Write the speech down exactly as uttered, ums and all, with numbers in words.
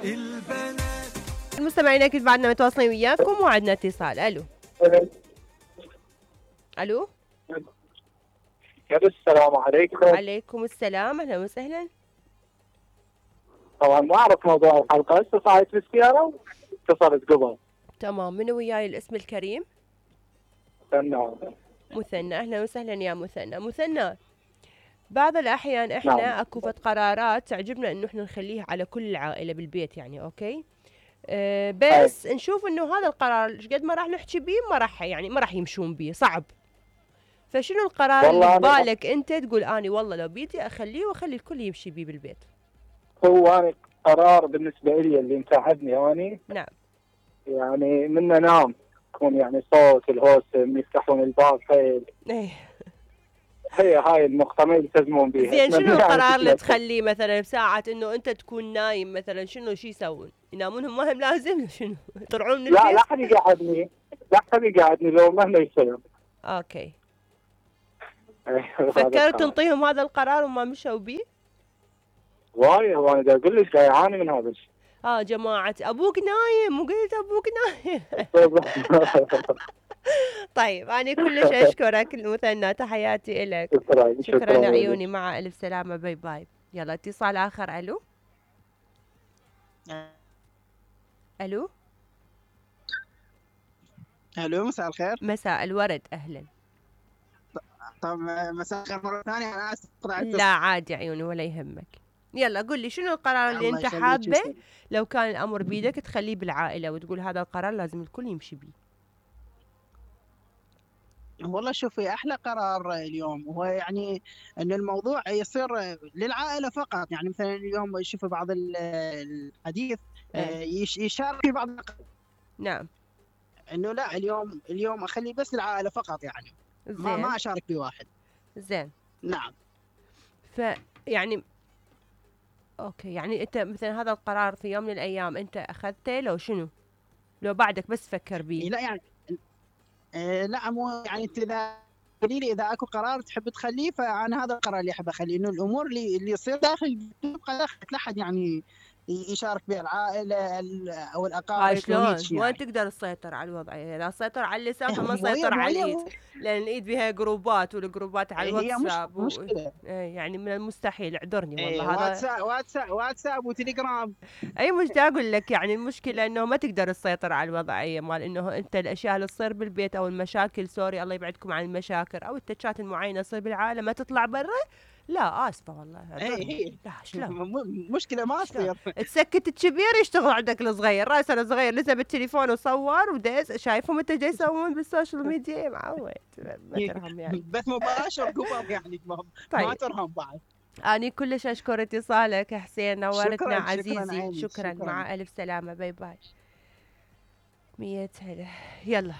البنات. المستمعين اكيد بعدنا متواصلين وياكم وعدنا اتصال. الو الو السلام عليكم. عليكم السلام، اهلا وسهلا. طبعا ما اعرف موضوع الحلقه، هسه صايت بالسياره واتصلت قبل. تمام، منو وياي الاسم الكريم؟ مثنى. مثنى، اهلا وسهلا يا مثنى. مثنى، بعض الاحيان احنا نعم. اكو فد قرارات تعجبنا انه احنا نخليها على كل العائله بالبيت، يعني اوكي أه بس أي. نشوف انه هذا القرار قد ما راح نحكي بيه ما راح يعني ما راح يمشون بيه، صعب. فشنو القرار اللي ببالك انت تقول اني والله لو بيدي اخليه واخلي الكل يمشي بيه بالبيت؟ هو أنا قرار بالنسبه لي اللي مساعدني اني نعم يعني من انام يكون يعني صوت الهوسه يفتحون الباب حيل. ايه هي هاي النقطة ما يلتزمون بيها. زين، شنو القرار اللي تخليه مثلا بساعة انه انت تكون نايم مثلا؟ شنو شي يسوون؟ ينامون هم؟ ما هم لازم شنو يطلعون من البيت؟ لا لا حد يقعدني، لا حد يقعدني لو مهما يصير. اوكي. فكرت تنطيهم هذا القرار وما مشوا بيه؟ واي وانا دا اقول لك يعاني من هذا الشيء. اه جماعة ابوك نايم وقلت ابوك نايم. طيب انا كلش اشكرك المثنى، تحياتي لك. شكرا شكرا عيوني، مع الف سلامة، باي باي. يلا اتصال اخر. الو الو الو مساء الخير. مساء الورد، اهلا. طب مساء الخير مرة ثانية، انا اسف. لا عادي عيوني ولا يهمك. يلا قل لي شنو القرار اللي انت حابه لو كان الامر بيدك تخليه بالعائلة وتقول هذا القرار لازم الكل يمشي بيه؟ والله شوفي، احلى قرار اليوم هو يعني ان الموضوع يصير للعائله فقط. يعني مثلا اليوم شوفي بعض الحديث يشارك في بعض. نعم. انه لا، اليوم اليوم اخليه بس للعائله فقط، يعني ما ما اشارك بواحد. زين. نعم. ف يعني اوكي، يعني انت مثلا هذا القرار في يوم من الايام انت اخذته لو شنو؟ لو بعدك بس فكر بيه؟ لا يعني إيه لا مو يعني انت اذا قولي لي اذا اكو قرار تحب تخليه، فانا هذا القرار اللي احب اخليه، انه الامور اللي اللي يصير داخل تبقى داخل، لا احد يعني يشارك بها العائله او الاقارب. شلون؟ وين تقدر تسيطر على الوضعيه؟ اذا سيطر على اللسان فما سيطر على الايد، لان الايد بها جروبات، والجروبات على الواتساب هي مشكله و... يعني من المستحيل، اعذرني والله. هذا واتساب واتساب واتساب وتليجرام. اي مش دا اقول لك، يعني المشكله انه ما تقدر تسيطر على الوضعيه مال انه انت الاشياء اللي تصير بالبيت او المشاكل، سوري الله يبعدكم عن المشاكل، او التشات المعينه تصير بالعالم ما تطلع برا. لا اسفه والله. اي لا شلون؟ مشكله ما تصير. تسكت الكبير يشتغل عندك الصغير، راسه الصغير لسه بالتليفون وصور وديز، شايفهم انت جاي يسوون بالسوشيال ميديا معود ما ترهم يعني. بث مباشر قبل يعني طيب. ما ترهم بعد. أنا كلش أشكر اتصالك حسين، نورتنا شكراً عزيزي. شكرا, شكرا, شكرا. مع ألف سلامة، باي باي. مية هلا. يلا